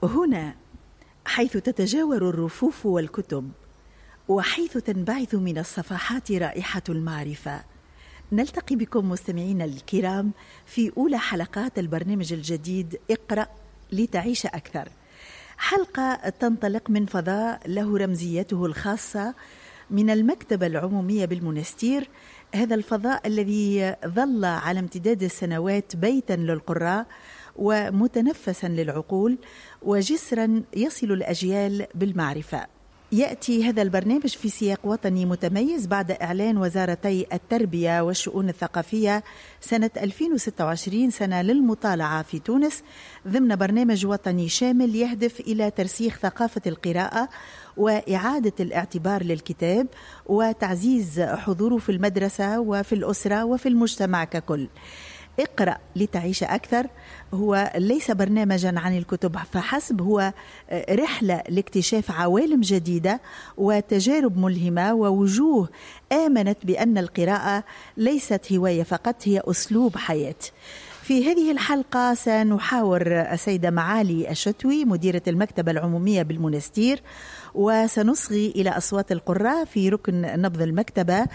هنا حيث تتجاور الرفوف والكتب، وحيث تنبعث من الصفحات رائحة المعرفة، نلتقي بكم مستمعينا الكرام في أولى حلقات البرنامج الجديد اقرأ لتعيش أكثر. حلقة تنطلق من فضاء له رمزيته الخاصة من المكتبة العمومية بالمنستير، هذا الفضاء الذي ظل على امتداد السنوات بيتا للقراء ومتنفسا للعقول وجسرا يصل الأجيال بالمعرفة. يأتي هذا البرنامج في سياق وطني متميز بعد إعلان وزارتي التربية والشؤون الثقافية سنة 2026 سنة للمطالعة في تونس، ضمن برنامج وطني شامل يهدف إلى ترسيخ ثقافة القراءة وإعادة الاعتبار للكتاب وتعزيز حضوره في المدرسة وفي الأسرة وفي المجتمع ككل. اقرأ لتعيش أكثر هو ليس برنامجا عن الكتب فحسب، هو رحلة لاكتشاف عوالم جديدة وتجارب ملهمة ووجوه آمنت بأن القراءة ليست هواية فقط، هي أسلوب حياة. في هذه الحلقة سنحاور السيدة معالي الشتوي مديرة المكتبة العمومية بالمنستير، وسنصغي إلى أصوات القراء في ركن نبض المكتبة،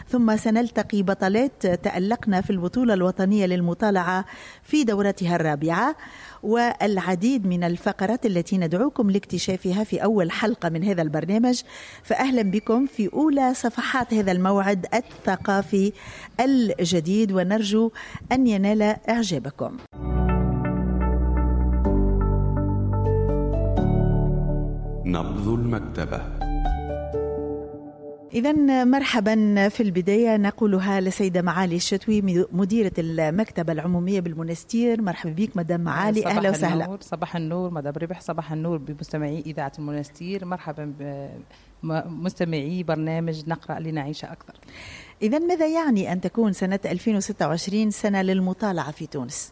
ثم سنلتقي بطلات تألقنا في البطولة الوطنية للمطالعة في دورتها الرابعة، والعديد من الفقرات التي ندعوكم لاكتشافها في أول حلقة من هذا البرنامج. فأهلا بكم في أولى صفحات هذا الموعد الثقافي الجديد، ونرجو أن ينال إعجابكم. نبض المكتبة. إذن مرحبا. في البداية نقولها لسيدة معالي الشتوي مديرة المكتبة العمومية بالمنستير. مرحبا بك مدام معالي، أهلا وسهلا. صباح النور مدام ربح، صباح النور بمستمعي إذاعة المنستير، مرحبا بمستمعي برنامج نقرأ لنعيش أكثر. إذن ماذا يعني أن تكون سنة 2026 سنة للمطالعة في تونس؟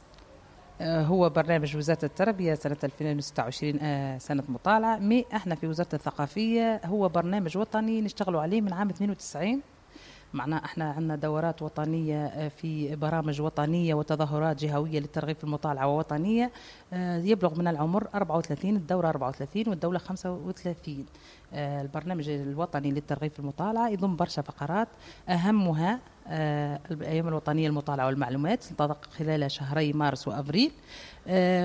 هو برنامج وزارة التربية سنة 2026 سنة مطالعة، mais احنا في وزارة الثقافية هو برنامج وطني نشتغلوا عليه من عام 92. معناه احنا عندنا دورات وطنية في برامج وطنية وتظاهرات جهوية للترغيب في المطالعة ووطنية، يبلغ من العمر 34، الدورة 34 والدولة 35. البرنامج الوطني للترغيب في المطالعة يضم برشا فقرات، أهمها الأيام الوطنية للمطالعة والمعلومات تنطلق خلال شهري مارس وأفريل،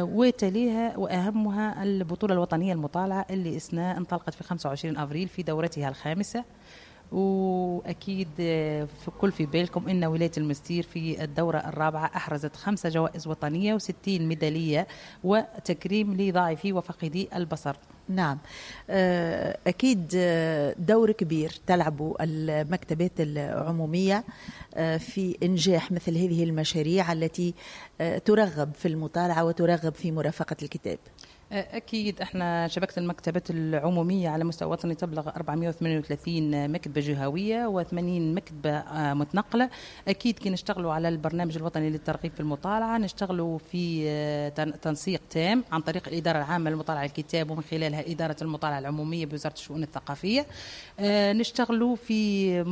وتليها وأهمها البطولة الوطنية للمطالعة اللي انطلقت في 25 أفريل في دورتها الخامسة. وأكيد في كل في بالكم إن ولاية المستير في الدورة الرابعة أحرزت 5 جوائز وطنية و60 ميدالية وتكريم لضعيفي وفقدي البصر. نعم، أكيد دور كبير تلعبه المكتبات العمومية في إنجاح مثل هذه المشاريع التي ترغب في المطالعة وترغب في مرافقة الكتاب. أكيد احنا شبكة المكتبات العمومية على مستوى وطني تبلغ 438 مكتبة جهوية و80 مكتبة متنقلة. أكيد كي نشتغلوا على البرنامج الوطني للترغيب في المطالعة نشتغلوا في تنسيق تام عن طريق الإدارة العامة للمطالعة الكتاب ومن خلالها إدارة المطالعة العمومية بوزارة الشؤون الثقافية. نشتغلوا في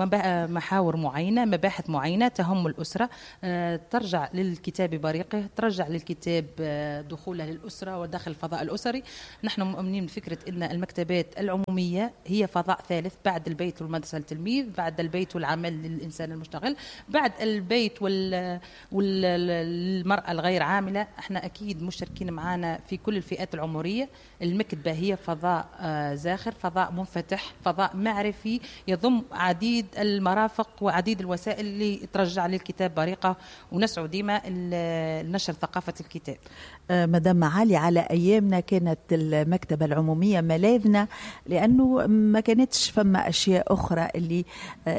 محاور معينة، مباحث معينة تهم الأسرة، ترجع للكتاب بريقه، ترجع للكتاب دخوله للأسرة وداخل الفضاء الأسري. نحن مؤمنين بفكرة أن المكتبات العمومية هي فضاء ثالث بعد البيت والمدرسة للتلميذ، بعد البيت والعمل للإنسان المشتغل، بعد البيت والمرأة الغير عاملة. احنا أكيد مشتركين معنا في كل الفئات العمرية. المكتبة هي فضاء زاخر، فضاء منفتح، فضاء معرفي يضم عديد المرافق وعديد الوسائل اللي ترجع للكتاب بريقة، ونسعى ديما لنشر ثقافة الكتاب. مدام معالي، على أيامنا كانت المكتبة العمومية ملاذنا، لأنه ما كانتش فما أشياء أخرى اللي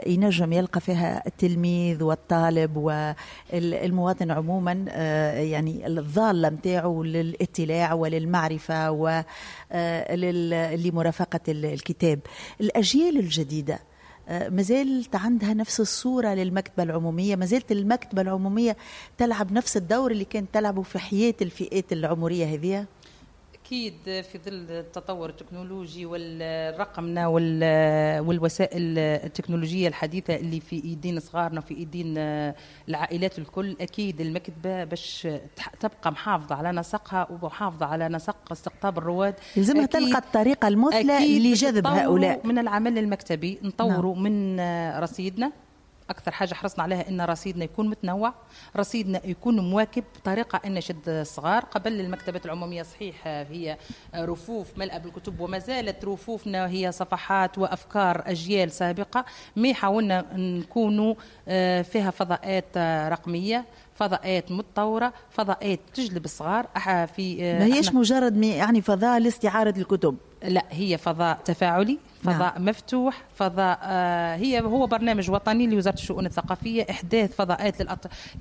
ينجم يلقى فيها التلميذ والطالب والمواطن عموما، يعني الضالة متاعه للاطلاع وللمعرفة ولمرافقة الكتاب. الأجيال الجديدة مازالت عندها نفس الصورة للمكتبة العمومية؟ مازالت المكتبة العمومية تلعب نفس الدور اللي كانت تلعبه في حياة الفئات العمرية هذه؟ أكيد في ظل التطور التكنولوجي والرقمنة والوسائل التكنولوجية الحديثة اللي في ايدين صغارنا وفي ايدين العائلات الكل، أكيد المكتبة باش تبقى محافظة على نسقها ومحافظة على نسق استقطاب الرواد، لازمها تلقى الطريقة المثلى لجذب هؤلاء. من العمل المكتبي نطوروا من رصيدنا. أكثر حاجة حرصنا عليها أن رصيدنا يكون متنوع، رصيدنا يكون مواكب بطريقة أن يشد الصغار. قبل المكتبات العمومية صحيح هي رفوف ملأ بالكتب، وما زالت رفوفنا هي صفحات وأفكار أجيال سابقة، mais حاولنا نكونوا فيها فضاءات رقمية، فضاءات متطورة، فضاءات تجلب الصغار. في ما هيش مجرد يعني فضاء لاستعارة الكتب، لا، هي فضاء تفاعلي، فضاء مفتوح، فضاء هو برنامج وطني لوزارة الشؤون الثقافية، إحداث فضاءات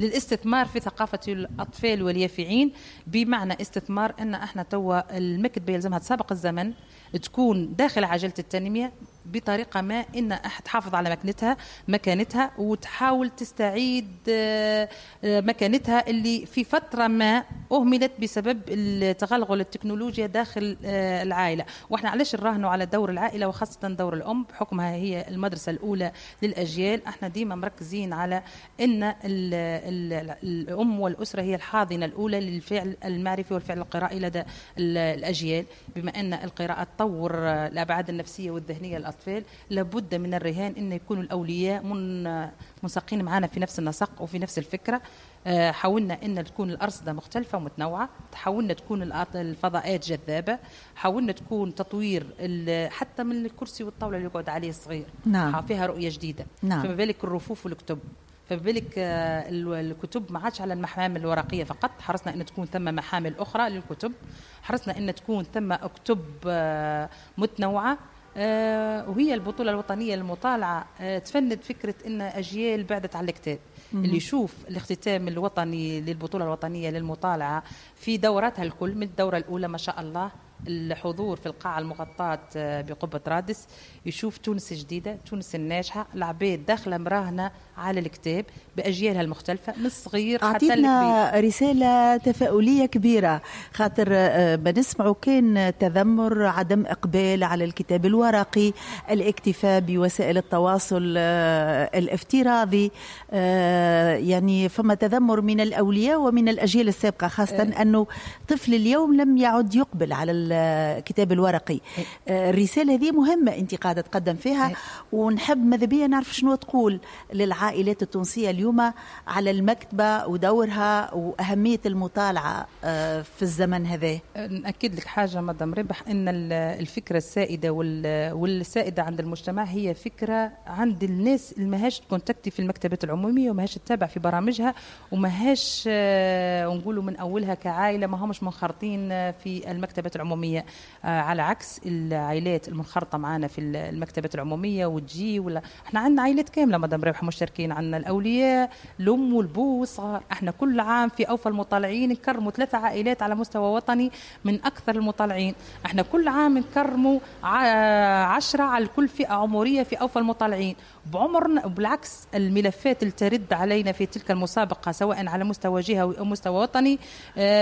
للاستثمار في ثقافة الأطفال واليافعين. بمعنى استثمار أن احنا توا المكتبة يلزمها تسابق الزمن، تكون داخل عجلة التنمية بطريقة ما أن تحافظ على مكانتها وتحاول تستعيد مكانتها اللي في فترة ما أهملت بسبب التغلغل التكنولوجيا داخل العائلة. وإحنا علاش نراهنوا على دور العائلة وخاصة دور الأم بحكمها هي المدرسة الأولى للأجيال. احنا ديما مركزين على أن الأم والأسرة هي الحاضنة الأولى للفعل المعرفي والفعل القرائي لدى الأجيال. بما أن القراءة تطور الأبعاد النفسية والذهنية للأطفال، لابد من الرهان أن يكونوا الأولياء منسقين معنا في نفس النسق وفي نفس الفكرة. حاولنا أن تكون الأرصدة مختلفة ومتنوعة، حاولنا تكون الفضاءات جذابة، حاولنا تكون تطوير حتى من الكرسي والطاولة اللي يقعد عليه الصغير. نعم. فيها رؤية جديدة. نعم. فما بالك الرفوف والكتب، فما بالك الكتب ما عادش على المحامل الورقية فقط، حرصنا أن تكون ثم محامل أخرى للكتب، حرصنا أن تكون ثم كتب متنوعة. وهي البطولة الوطنية للمطالعة تفند فكرة أن أجيال بعدت على الكتاب. اللي يشوف الاختتام الوطني للبطولة الوطنية للمطالعة في دوراتها الكل، من الدورة الأولى ما شاء الله الحضور في القاعة المغطاة بقبة رادس، يشوف تونس الجديدة، تونس الناجحة، العباد داخلة مراهنة على الكتاب بأجيالها المختلفة من الصغير حتى الكبير. أعطيتنا رسالة تفاؤلية كبيرة، خاطر بنسمعوا كان تذمر، عدم إقبال على الكتاب الورقي، الاكتفاء بوسائل التواصل الافتراضي، يعني فما تذمر من الأولياء ومن الأجيال السابقة، خاصة أنه طفل اليوم لم يعد يقبل على الكتاب الورقي. الرسالة هذه مهمة أنت قاعدة تقدم فيها، ونحب ماذا بيا نعرف شنو تقول للعائلات التونسية اليوم على المكتبة ودورها وأهمية المطالعة في الزمن هذا. نأكد لك حاجة مدام ربح، أن الفكرة السائدة والسائدة عند المجتمع هي فكرة عند الناس اللي ماهاش تكونتاكتي في المكتبات العمومية وماهاش تتابع في برامجها وماهاش نقولوا من أولها كعائلة ما همش منخرطين في المكتبات العمومية، على عكس العائلات المنخرطة معنا في المكتبات العمومية وتجي. ولا احنا عندنا عائلات كاملة مدام ربح مشتركين، عندنا الأولياء، الأم والبو والصغار. احنا كل عام في أوفى المطالعين نكرموا 3 عائلات على مستوى وطني من أكثر المطالعين. احنا كل عام نكرموا 10 على كل فئة عمرية في أوفى المطالعين بعمرنا. بالعكس الملفات اللي ترد علينا في تلك المسابقة سواء على مستوى جهوي أو مستوى وطني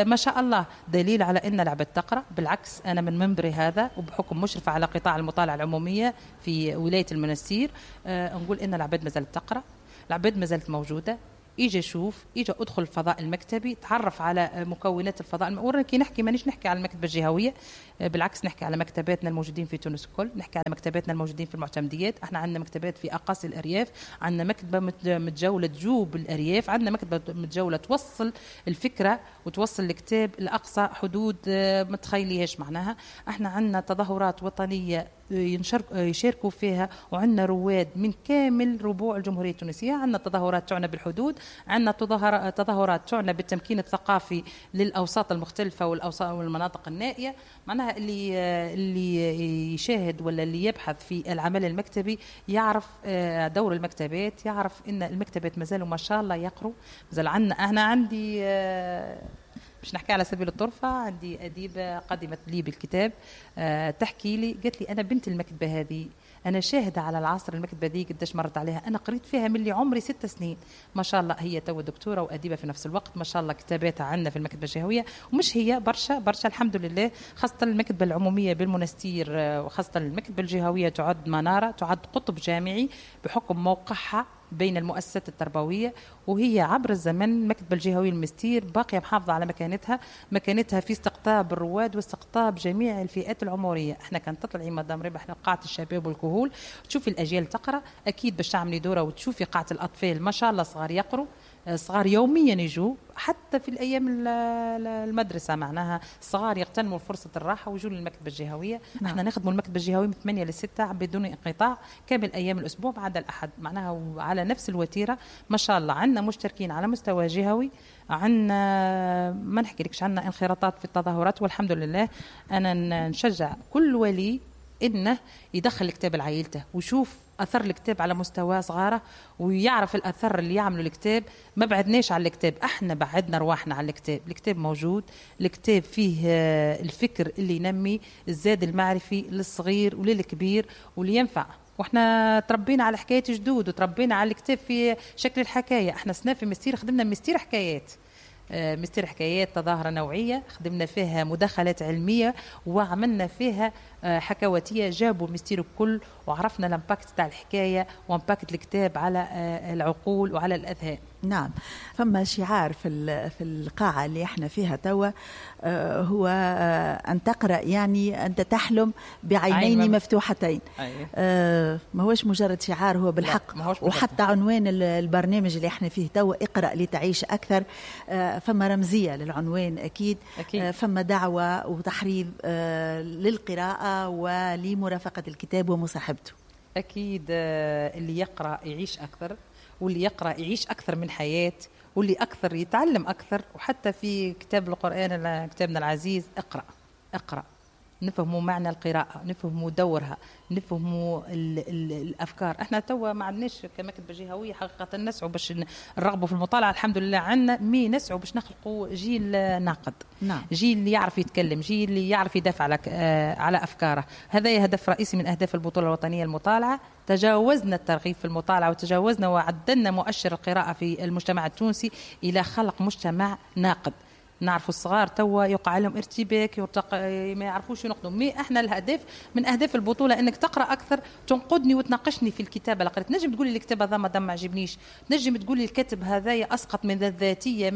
ما شاء الله دليل على أن العباد تقرأ. بالعكس أنا من منبري هذا وبحكم مشرفة على قطاع المطالعة العمومية في ولاية المنستير نقول إن العباد ما زالت تقرأ، العباد ما زالت موجودة. اجي شوف، اجي ادخل الفضاء المكتبي، تعرف على مكونات الفضاء. وراكي نحكي مانيش نحكي على المكتبة الجهوية، بالعكس نحكي على مكتباتنا الموجودين في تونس الكل، نحكي على مكتباتنا الموجودين في المعتمديات. احنا عندنا مكتبات في اقاصي الارياف، عندنا مكتبه متجوله تجوب الارياف، عندنا مكتبه متجوله توصل الفكرة وتوصل الكتاب لاقصى حدود ما تخيليهاش. معناها احنا عندنا تظاهرات وطنية يشاركوا فيها، وعندنا رواد من كامل ربوع الجمهورية التونسية. عندنا تظاهرات تعنى بالحدود، عندنا تظاهرات تعنى بالتمكين الثقافي للأوساط المختلفة والمناطق النائية. معناها اللي يشاهد ولا اللي يبحث في العمل المكتبي يعرف دور المكتبات، يعرف إن المكتبات مازالوا ما شاء الله يقروا. مازال عندنا، أنا عندي باش نحكي على سبيل الطرفة، عندي أديبة قدمت لي بالكتاب تحكي لي، قالت لي أنا بنت المكتبة هذه، انا شاهده على العصر المكتبة دي قداش مرت عليها، انا قريت فيها من اللي عمري 6 سنين. ما شاء الله هي تو دكتورة واديبه في نفس الوقت، ما شاء الله كتاباتها عندنا في المكتبة الجهوية، ومش هي برشا برشا الحمد لله. خاصة المكتبة العمومية بالمنستير وخاصة المكتبة الجهوية تعد منارة، تعد قطب جامعي بحكم موقعها بين المؤسسات التربوية، وهي عبر الزمن المكتبة الجهوية المستير باقية محافظة على مكانتها في استقطاب الرواد واستقطاب جميع الفئات العمرية. احنا كان تطلعي مدام ربح قاعة الشباب والكهول تشوفي الأجيال تقرأ، أكيد باش تعملي دورة وتشوفي قاعة الأطفال ما شاء الله صغار يقروا، صغار يوميا يجوا حتى في الأيام المدرسة، معناها صغار يغتنموا فرصة الراحة ويجوا للمكتبة الجهوية. نعم. احنا نخدموا المكتبة الجهوية من 8 ل 6 بدون انقطاع كامل أيام الأسبوع ما عدا الأحد، معناها على نفس الوتيرة ما شاء الله. عندنا مشتركين على مستوى جهوي، عندنا ما نحكي لكش عندنا انخراطات في التظاهرات والحمد لله. أنا نشجع كل ولي إنه يدخل الكتاب لعائلته ويشوف أثر الكتاب على مستوى صغاره ويعرف الأثر اللي يعمله الكتاب. ما بعدناش على الكتاب، احنا بعدنا رواحنا على الكتاب. الكتاب موجود، الكتاب فيه الفكر اللي ينمي الزاد المعرفي للصغير وللكبير واللي ينفع. واحنا تربينا على حكاية جدود وتربينا على الكتاب في شكل الحكاية. احنا سنة في مستير خدمنا مستير حكايات، مستير حكايات تظاهرة نوعية خدمنا فيها مداخلات علمية وعملنا فيها حكواتية، جابوا مستير الكل وعرفنا ال impact تاع الحكاية و impact الكتاب على العقول وعلى الأذهان. نعم، فما شعار في القاعة اللي احنا فيها توا، هو أن تقرأ يعني أنت تحلم بعينين مفتوحتين. أيه. ما هوش مجرد شعار، هو بالحق. وحتى عنوان البرنامج اللي احنا فيه توا اقرأ لتعيش أكثر، فما رمزية للعنوان أكيد. أكيد. فما دعوة وتحريض للقراءة ولمرافقة الكتاب ومصاحبته. أكيد، اللي يقرأ يعيش أكثر، واللي يقرأ يعيش أكثر من حياة، واللي أكثر يتعلم أكثر. وحتى في كتاب القرآن كتابنا العزيز اقرأ اقرأ، نفهموا معنى القراءة، نفهموا دورها، نفهموا الأفكار. احنا توا ما عندناش كمكتبة جهوية حقيقة نسعوا باش نرغبوا في المطالعة، الحمد لله عندنا mais نسعوا باش نخلقوا جيل ناقد. نعم. جيل اللي يعرف يتكلم، جيل اللي يعرف يدافع على أفكاره. هذا هدف رئيسي من أهداف البطولة الوطنية المطالعة. تجاوزنا الترغيب في المطالعة وتجاوزنا وعدلنا مؤشر القراءة في المجتمع التونسي إلى خلق مجتمع ناقد. نعرفوا الصغار توا يقع لهم ارتباك، ما يعرفوش ينقدوا. mais احنا الهدف من اهداف البطولة انك تقرا اكثر، تنقدني وتناقشني في الكتابة اللي قريت. نجم تقولي الكتاب هذا ما عجبنيش، نجم تقولي الكاتب هذايا اسقط من الذاتية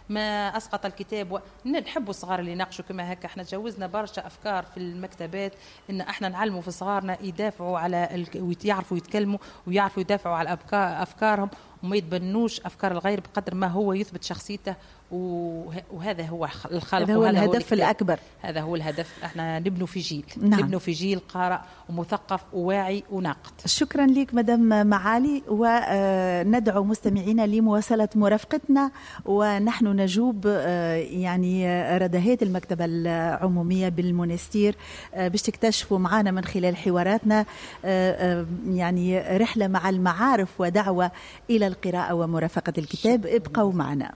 ما اسقط الكتاب. نحبوا الصغار اللي يناقشوا كما هكا. احنا تجاوزنا برشا افكار في المكتبات ان احنا نعلموا في صغارنا يدافعوا على ويعرفوا يتكلموا ويعرفوا يدافعوا على افكارهم وما يتبنوش افكار الغير بقدر ما هو يثبت شخصيته. وهذا هو الخلق، هذا هو الهدف الأكبر، هذا هو الهدف. احنا نبنوا في جيل. نعم. نبنوا في جيل قارئ ومثقف وواعي وناقد. شكرا لك مدام معالي، وندعو مستمعينا لمواصلة مرافقتنا ونحن نجوب يعني ردهات المكتبة العمومية بالمونستير باش تكتشفوا معنا من خلال حواراتنا يعني رحلة مع المعارف ودعوة إلى القراءة ومرافقة الكتاب. ابقوا معنا.